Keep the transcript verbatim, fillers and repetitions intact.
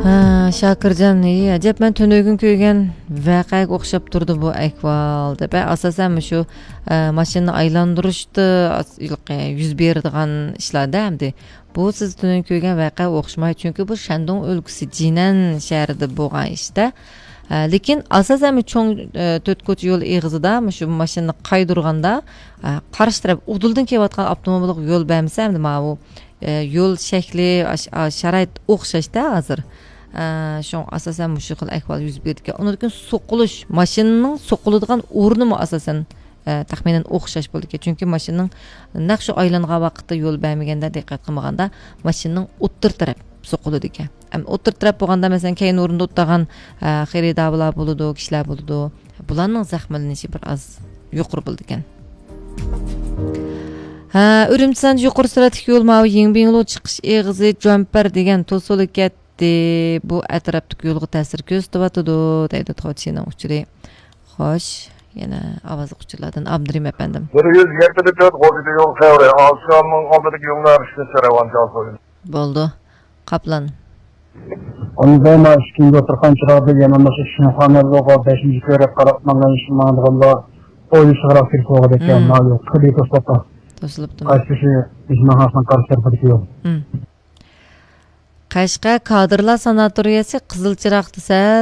ھە، شاكىرجان، ئى، ئەجەب، مەن تۈنۈگۈن كۆرگەن ۋەقەگە ئوخشاپ تۇرىدۇ بۇ ئەھۋال، دەپ. ئاساسەن مۇشۇ، ئە، ماشىنىنى ئايلاندۇرۇشتا ئاس-، يۈز بېرىدىغان ئىشلاردا ئەمدى. بۇ سىز تۈنۈگۈن كۆرگەن ۋەقەگە ئوخشىمايدۇ، چۈنكى بۇ شەندۇڭ ئۆلكىسى جىنەن شەھىرىدە بولغان ئىشتا. ئە، لېكىن ئاساسەن بۇ چوڭ، ئە، تۆت كوچا يول ئېغىزىدا مۇشۇ ماشىنىنى قايدۇرغاندا، ئە، قارشى تەرەپ ئۇدۇلدىن كېلىۋاتقان ئاپتوموبىلغا يول بەرمىسە، ئەمدى ماۋۇ ئە، يول شەكلى، ئاش-، ئا-، شارائىت ئوخشاشتا ھازىر. ئە، شۇڭا ئاساسەن مۇشۇ خىل ئەھۋال يۈز بېرىدىكەن. ئۇنىڭدىن كېيىن سوقۇلۇش، ماشىنىنىڭ سوقۇلىدىغان ئورنىمۇ ئاساسەن، ئە، تەخمىنەن ئوخشاش بولىدىكەن. چۈنكى ماشىنىنىڭ نەق شۇ ئايلانغان ۋاقىتتا يول بەرمىگەندە، دىققەت قىلمىغاندا، ماشىنىنىڭ ئوتتۇرا تەرەپ سوقۇلىدىكەن. ئەم، ئوتتۇرا تەرەپ بولغاندا، مەسىلەن، كەينى ئورۇندا ئولتۇرغان، ئە، خېرىدارلار بولىدۇ، كىشىلەر بولىدۇ. بۇلارنىڭ زەخىملىنىشى بىر ئاز يۇقىرى بولىدىكەن. ھە، ئۈرۈمچى سانجى يۇقىرى سۈرئەتلىك يول ماۋۇ يىڭبىڭلۇ چىقىش ئېغىزى جۇەنپەر دېگەن توسۇلۇپ كەتتى. بۇ ئەتراپتىكى يولغا تەسىر كۆرسىتىۋاتىدۇ، دەيدۇ توچىنىڭ ئۇچۇرى. خوش، يەنە ئاۋازلىق ئۇچۇرلاردىن ئابدۇرېھىم ئەپەندىم. بىر يۈز يەتتە تۆت غوزىدە يول خەۋىرى، ئالسامنىڭ ئالدىدىكى يوللار ئىشلىتىلسە رەۋانچى ئالسا. بولدى. قاپلان. ئۇندا مانا ئىككىنچى دوختۇرخانا چىراغىدا يەنە مۇشۇ شىنخۇا بولغان بەشىنچى كۆرۈپ قاراپ ماڭغان، ماڭىدىغانلار ئويلىشىشقا كېرەك بولغان ئىكەن. مم. مانا يول خېلى توسۇلۇپتۇ. توسۇلۇپتۇ. قايسى شۇ مېھمانخانىسىنىڭ قارشى تەرىپىدىكى يول. مم. قەشقەر كادىرلار ساناتورىيەسى قىزىل چىراغدا سەل